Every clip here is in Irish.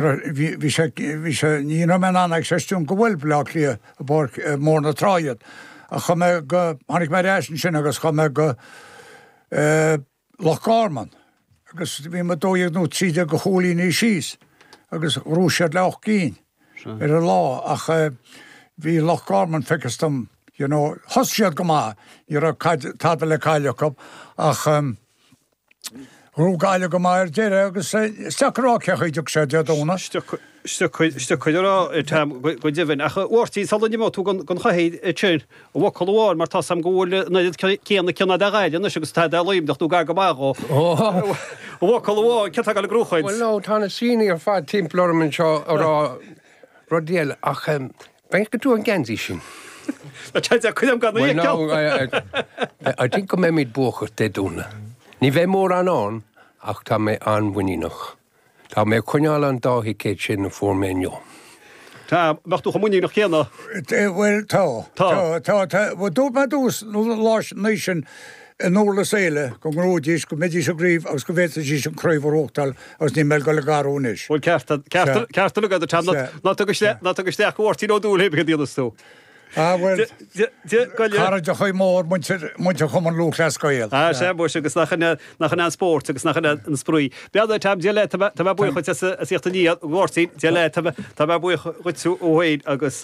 Bhí sé, bhí sé, ní raibh mé in ann é a chreistiúint go bhuail Baile Átha Cliath i bPáirc Mór na Trá iad. Ach chuaigh mé go, tháinig mé ar ais ansin agus chuaigh mé go Loch Garman agus bhí muid 12 nó 13 de chúilíní síos agus ghnóthaigh siad le 8 gcinn ar an lá ach bhí Loch Garman feictear dom, you know, thosaigh siad go maith, ní raibh caid, tada le cailleadh acu ach Ghnóthaigh Gaillimh go maith ar deireadh agus is deacair a rá cén chaoi a dtiocfaidh sé Dé Domhnaigh. Is deacair a rá, Tom, go deimhin. Ach a Mháirtín, sula n-imeoidh tú den chathaoir sin, i bhfocal amháin, mar tá 's a'm go bhfuil an oiread céanna cion a'd ar Ghaillimh anois agus atá a'd ar Luimneach nó gar go maith dhó. I bhfocal amháin, cé atá ag dul ag gnóchaint? Bhuel, no, tá na saoine ar fad timpeall orm anseo ag rá rudaí eile ach Feicfidh tú an geansaí sin. Tá sé cuid am gan Well no, I think go mbeimid buacach Dé Domhnaigh. Ní bheidh mórán ann ach tá mé an-mhuiníneach. Tá mé ag coinneáil an dá thicéad sin a fuair mé inniu. Tá, mbeadh tú chomh muiníneach céanna? Bhuel, tá. Tá. Tá, tá. Bhuel, dúirt mé i dtús an lá sin i nDurlas Éile go ngnóthóidís, go mbeidís i gcraobh agus go bhféadfaidís an craobh a ghnóthachtáil agus níl mé ag dul ag athrú anois. Bhuel ceart, ceart, ceart uilig agat, Tom, ná tug isteach, ná tug isteach go Mháirtín Ó Dúill é céard a dhéanfas tú. Ah bhuel, cairdeachaí mór muintir, muintir Chumann Lúthchleas Gael. Ah sea muis agus nach in, nach in an spórt agus nach in an spraoi. Beannacht Tom, Dia leat, tá mé buíoch duit as a thíocht aniar, a Mháirtín, Dia leat, tá mé buíoch dhuit ó fhéin agus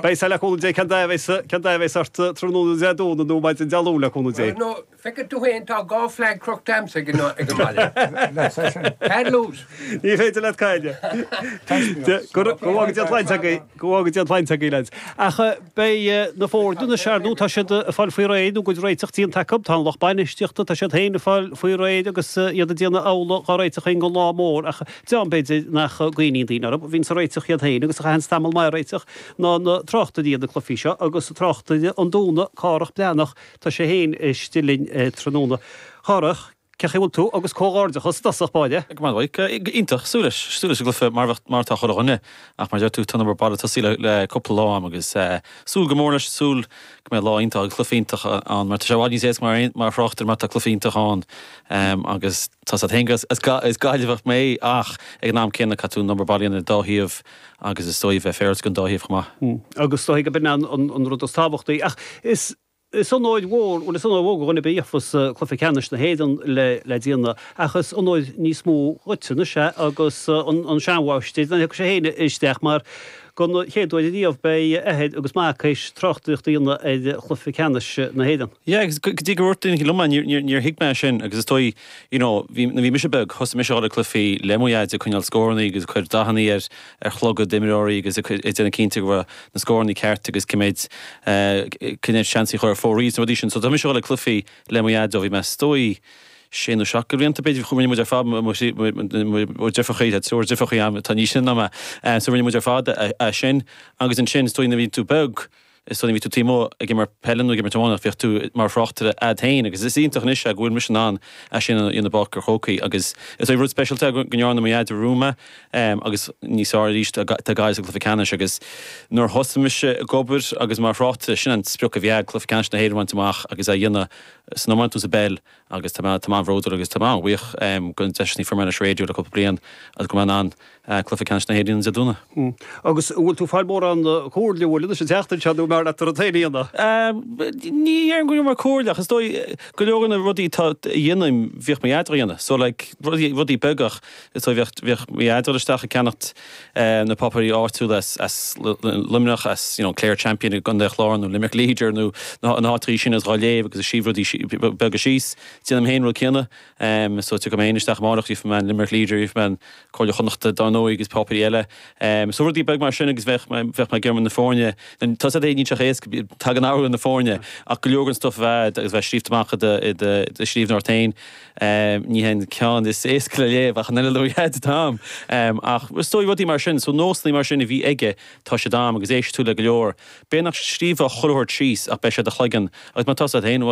beidh sé le cúnamh Dé cén dath a bheas, cén dath a bheas ort tráthnóna Dé Domhnaigh nó maidin Dé Luain le cúnamh Dé. Feicfidh tú féin, tá dhá flag crochta a'msa ag an mbaile. Can't lose. Ní féidir leat cailleadh. Go bhfága Dia an tsláinte agaibh, go bhfága Dia an tsláinte agaibh, lads. Ach beidh na foirne anois, ar ndóigh, tá siad ag fáil faoi réir nó a gcuid réiteach déanta acu. Tá an lucht bainistíochta, tá siad féin ag fáil faoi réir agus iad ag déanamh amhlaidh dhá réiteach féin don lá mór. Ach dream, b'fhéidir, nach gcuimhníonn daoine orthu, a bhíonns ag réiteach iad féin agus a chaitheanns tamall maith ag réiteach, ná na tráchtairí ar na cluichí seo agus tráchtaire an Dúna, Cárthach Breathnach, Tá sé féin istigh linn tráthnóna. Chárthach, cén chaoi a bhfuil tú agus comhghairdeachas i dtosach báire. Go maith Mhaidhc. Iontach, súil leis, súil leis an gcluiche mar bheadh, mar atá chuile dhuine. Ach mar a deir tú, tá an obair baile tosaithe le cúpla lá a'm agus súil go mór leis, súil go mbeidh lá iontach agus cluiche iontach ann mar tá sé i bhfad níos éasca mar, mar thráchtaire má tá cluiche iontach ann agus tá 's agat féin is Gaillimheach mé ach ag an am céanna caithfidh tú an obair baile a dhéanamh ar an dá thaobh agus is dóigh bheith féaráilte don dá thaobh chomh maith. Agus is dóigh gurb in an rud is tábhachtaí. Ach is is onóir mhór, bhuel is onóir mhór do dhuine ar bith a gheofas cluiche ceannais na hÉireann le le déanamh, ach is onóir níos mó dhuit anois é agus an seanmháistir, nach dtiocfaidh sé féin isteach mar don chéad uair ariamh beidh athair agus mac théis tráchtaireacht a dhéanamh ar chluiche ceannais na hÉireann. Yeah, agus go dtí gur dhúirt duine liom é, níor níor thuig mé é sin agus is dóigh, you know, bhí, nuair a bhí mise beag, thosaigh mise a dhul ag cluichí le mo dhaid ag coinneáil scórannaí agus ag cur dathannaí ar ar chlogaid d'imreoirí agus ag déanamh cinnte go raibh na scórannaí ceart agus cé mhéid cé mhéid seans a chuir fóraí is na rudaí sin. So tá mise ag dul ag cluichí le mo dhaid ó bhí mé is dóigh sé nó seacht de bhlianta b'fhéidir rinne muid ar fad mo dheirfiúrachaí tá triúr deirfiúrachaí agam atá níos sine ná mé so rinne muid ar fad é sin agus ansin is dóigh nuair a bhí tú beag Is dóigh nuair a bhí tú taobh amuigh ag imirt peile nó ag imirt iomána bheadh tú mar thráchtaire a'd féin agus is iontach anois é go bhfuil mise in ann é sin a dhéanamh i bPáirc an Chrócaigh agus is dóigh rud speisialta é go ndearna mo dhaid romham é agus níos fearr arís tá Gaillimh sa gcluiche ceannais agus nuair a thosaigh mise ag obair agus mar thráchtaire sin an sprioc a bhí a'd cluiche ceannais na hÉireann a bhaint amach agus é a dhéanamh san iomáint nó sa bpeil agus tá mé tá mé an-bhródúil agus tá mé an-bhuíoch den deis a fuair mé leis an raidió le cúpla bliain agus go mbeidh mé in ann Cluiche Ceannais na hÉireann Dé Domhnaigh. Agus an bhfuil tú ag fáil mórán comhairle uait anois an tseachtain seo nó an mb'fhearr leat do rud féin a dhéanamh? Ní dhéarfainn go bhfuil mé comhairle ach is dóigh go leor de na rudaí atá a dhéanaim bhíodh mo dhaid á dhéanamh. So like rudaí rudaí beaga ach is dóigh bheadh bheadh mo dhaid ag dul isteach ag ceannacht na páipéirí áitiúla as as Luimneach as you know Clare Champion i gContae an Chláir nó Limerick Leader nó na háiteachaí sin agus dhá léamh agus ag scríobh rudaí beaga síos. Déanaim féin an rud céanna. So tiocfaidh mé féin isteach amárach gheobhaidh mé an Limerick Leader gheobhaidh mé an Comhairle Chonnachta dar ndóigh agus páipéirí eile. So rudaí beag mar sin agus bheadh mé bheadh mé ag iarraidh na foirne, tá 's agat níl sé chomh éasca, tagann athrú ar na foirne ach go leor den stuff a bheith agus bheith scríobhta amach i do i do do scríbhneoireacht féin ní hé an ceann is éasca le léamh ach an oiread le mo dhaid Tom. Ach is dóigh rudaí mar sin, so nósanna mar sin a bhí aige tá siad a'm agus éistfidh tú le go leor. B'fhéidir nach scríobhfá chuile shórt síos ach beidh sé i do chloigeann agus má tá 's agat féin.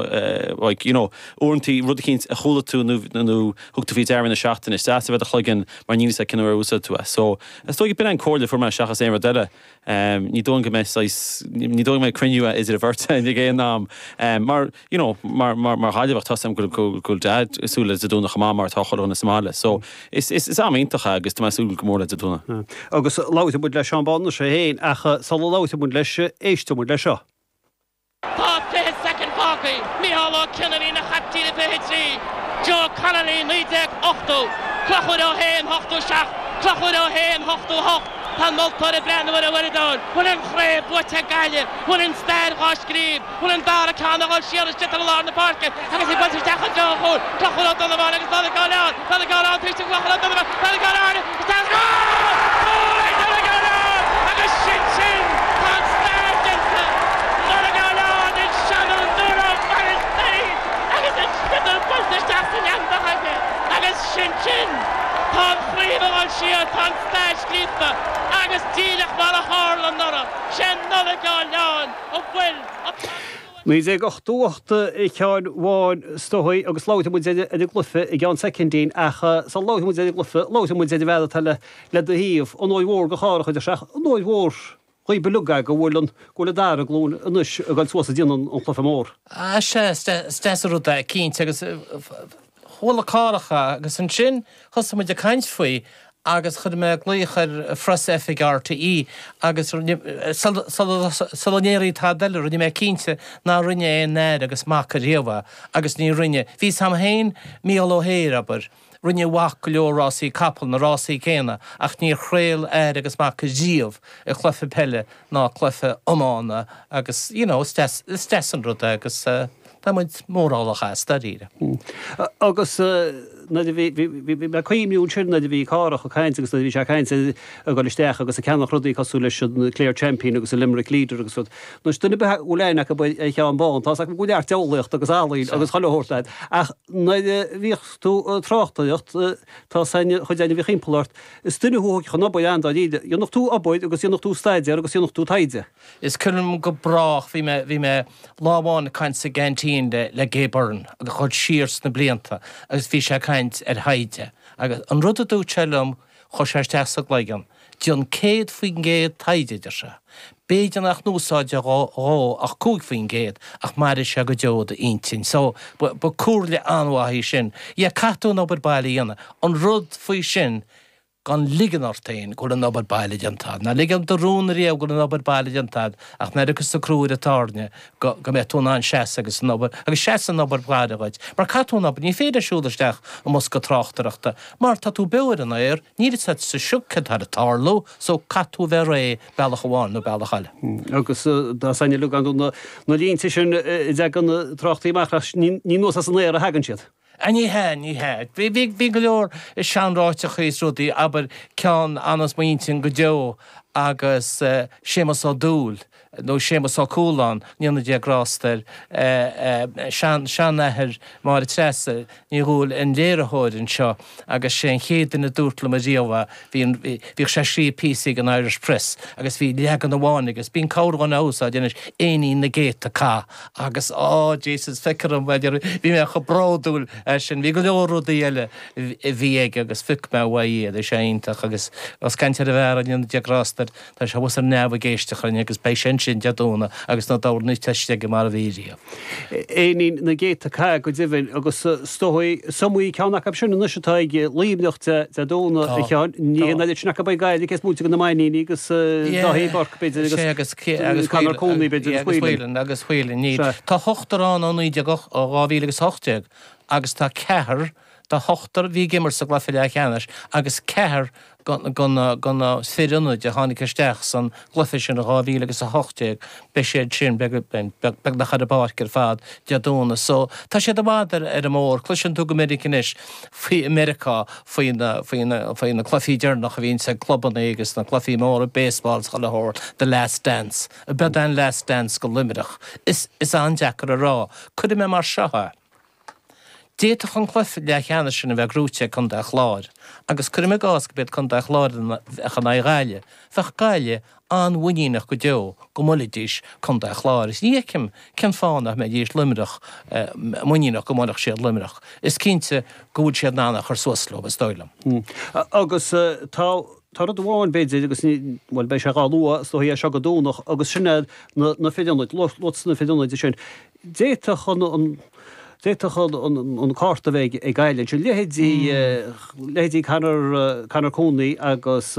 Like, you know, uaireantaí rud eicínt a chuala tú nó nó thug tú faoi deara na seachtaine, is deas a bheith i do chloigeann mar níl a fhios agat cén uair a úsáidfidh tú é. So, is dóigh b'in an comhairle a fuair mé seachas aon rud eile. Ní dóigh go mbeidh saghas, ní dóigh go mbeidh cruinniú idir an bheirt againn ag aon am. Mar, you know, mar, mar, mar Ghaillimheach tá a fhios agam go bhfuil, go bhfuil Dad ag súil le Dé Domhnaigh chomh maith mar atá chuile dhuine sa mbaile. So, is, is, is am iontach é agus tá mé ag súil go mór le Dé Domhnaigh. Agus labhróidh muid le Seán Bán anois é féin ach sula labhróidh muid leis, éistfidh muid leis seo. Tá 20 soicind fágtha. Micheál Ó Cionnaith ina chaiptín i 23. Joe Connolly 1980. Conchúr Ó hÉin 87. Conchúr Ó hÉin 88. Tá an moltóir ag breathnú ar an uaireadóir. Bhfuil an chraobh buaite ag Gaillimh? Bhfuil an stair dhá scríobh? Bhfuil an dara ceann ag dul siar istigh i lár na páirce agus í buailte isteach i dtreo an chúil? Conchúr Ó Donnabháin agus Nollaig Ó Leáin. Nollaig Ó Leáin taobh istigh Conchúr Ó Donnabháin. Nollaig Ó Leáin isteach agus cúl! Cúl ag Nollaig Ó Leáin agus sin sin! Tá an stair déanta! Nollaig Ó Leáin ag seanfhondúir ó Mhainistir agus an sliotar buailte isteach san eangach aige agus sin sin! Tá an chraobh ag dul siar, tá an stair scríofa agus díreach mar a tharla anuraidh, sé Nollaig Ó Leáin a bhuail an 1988 a Sheáin Bháin is dóigh agus labhróidh muid ar an gcluiche i gceann soicindín ach sula labhróidh muid ar an gcluiche, labhróidh muid ar an bhfear atá le do thaobh, onóir mhór do Chárthach a deir sé ach onóir mhór dhaoib uilig é go bhfuil an go bhfuil an dara glúin anois ag dul suas ag déanamh an chluiche mór. Ah sea, is deas an rud é, cinnte, agus chuala Cárthach é agus ansin thosaigh muid ag caint faoi agus chuir mé glaoch ar phreasoifig RTÉ agus sula ndéarfaí tada eile rinne mé cinnte nár rinne aon fhear agus mac ariamh é agus ní rinne. Bhí 's a'm féin Mícheál Ó hEithir, abair, rinne a mhac go leor rásaí capall, na rásaí céanna, ach níor chraol athair agus mac ariamh i cluiche peile ná cluiche iomána agus you know is deas, is deas an rud é agus tá muid mórálach as, dáiríre. Agus nuair a bhí, bhí, bhí mé ag cuimhniú ansin nuair a bhí Cárthach ag caint agus nuair a bhí sé ag caint ar ag dul isteach agus ag ceannach rudaí cosúil leis an Clare Champion agus an Limerick Leader agus rud. Anois duine ar bith a bhfuil aithne acu ar Sheán Bán, tá's acu go bhfuil neart diabhlaíochta agus ealaín agus chuile shórt agat. Ach nuair a bhíodh tú ag tráchtaireacht, tá's a'inn, chuid againn a bhíodh thimpeall ort, Is duine thú a thógfadh an obair an-dáiríre. Dhéanfadh tú obair agus dhéanfadh tú staidéar agus dhéanfadh tú taighde. Is cuimhin liom go brách, bhí mé, bhí mé lá amháin ag caint sa gceaintín le, le Gay Byrne agus ag dul siar sna blianta agus bhí sé ag caint ar thaighde agus an rud a dúirt sé liom, chuir sé isteach sa gcloigeann, déan 100% taighde, a deir sé. B'fhéidir nach n-úsáidfeá dhó ach 5% ach mairfidh sé go deo i d'intinn. So, ba, ba comhairle an-mhaith í sin. Yeah, caithfidh tú an obair baile a dhéanamh. An rud faoi sin, gan ligean ort féin go bhfuil an obair baile déanta agat. Ná lig do rún ariamh go bhfuil an obair baile déanta agat ach nuair a thiocfas an crú ar an tairne go, go mbeidh tú in ann seasamh agus an obair, agus seasann an obair baile dhuit. Mar caithfidh tú an obair, ní féidir siúl isteach i mbosca tráchtaireachta mar tá tú beo ar an aer, níl fhios agat sa sioc céard atá ag tarlú, so caithfidh tú a bheith réidh bealach amháin nó bealach eile. Agus tá a fhios againn na línte sin a dtagann na tráchtaí amach ach ní anuas as an aer a thagann siad. A ní hea, ní hea. Bhí, bhí go leor seanráiteachaí is rudaí, abair, ceann a fhanas m'intinn go deo agus Séamus Ó Dúill, nó Séamus Ó Cualáin, go ndéana Dia grásta air, sean, seanathair Máire Treasa, Ní Dhúill, an léiritheoir anseo agus sé an chéad duine a dúirt liom ariamh é, bhí an, bhíodh sé ag scríobh píosaí don Irish Press agus bhí leagan amháin aige, bíonn corrdhuine á úsáid anois, Éinín na gCéadta Cath agus á Jesus feictear dom, bhí mé chomh bródúil as sin, bhí go leor rudaí eile a bhí aige agus phioc mé uaidh iad, bhí sé iontach agus ós caint ar an bhfear, go ndéana Dia grásta air. Tá sé thuas ar neamh ag éisteacht linn agus beidh sé ansin Dé Domhnaigh agus na dornáin teiste aige mar a bhí riamh. Éinín na gCéadta Cath go deimhin agus is dóigh is iomaí ceann acu sin anois atá ag Luimneach Dé Domhnaigh a Sheáin. Ní hé an oiread sin acu ag Gaillimh cé is móite de na Mainníní agus Dáithí Burke b'fhéidir agus Conor Cooney b'fhéidir agus Whelan. Agus Whelan. Tá ochtar ann ó 2018 agus tá ceathrar de ochtar a bhí ag imirt sa gcluiche leathcheannais agus ceathrar de na fir ionaid a tháinig isteach san gcluiche sin i 2018, beidh siad sin beagnach ar an bpáirc ar fad Dé Domhnaigh. So, tá siad i bhfad ar an mbóthar. Cloiseann tú go minic anois faoi i Meiriceá faoi na, faoi na, faoi na cluichí deireanacha a bhíonns ag clubanna agus na cluichí móra baseball is chuile shórt, the last dance. Ab é an last dance go Luimneach? Is, is an-deacair a rá. Cuirfidh mé mar seo é. D'fhéadfadh an cluiche leathcheannais sin a bheith gnóite ag Contae an Chláir agus cuirim i gcás go b'iad Contae an Chláir a bheadh in aghaidh Ghaillimh, bheadh Gaillimh an-mhuiníneach go deo go mbuailfidís Contae an Chláir. Is ní fheicim cén fáth nach mbeidís Luimneach muiníneach go mbuailfeadh siad Luimneach. Is cinnte go bhfuil siad in ann a chur suas leo, is dóigh liom. Agus tá tá rud amháin, b'fhéidir, agus ní, bhuel, beidh sé dhá lua, is dóigh, as seo go Domhnach, agus sin é na na fir ionaid, lucht na fir ionaid sin. D'fhéadfadh an, an, d'fhéadfadh an, an, an cárta a bheith ag Gaillimh ansin, leithéidí, leithéidí Conor, Conor Cooney agus.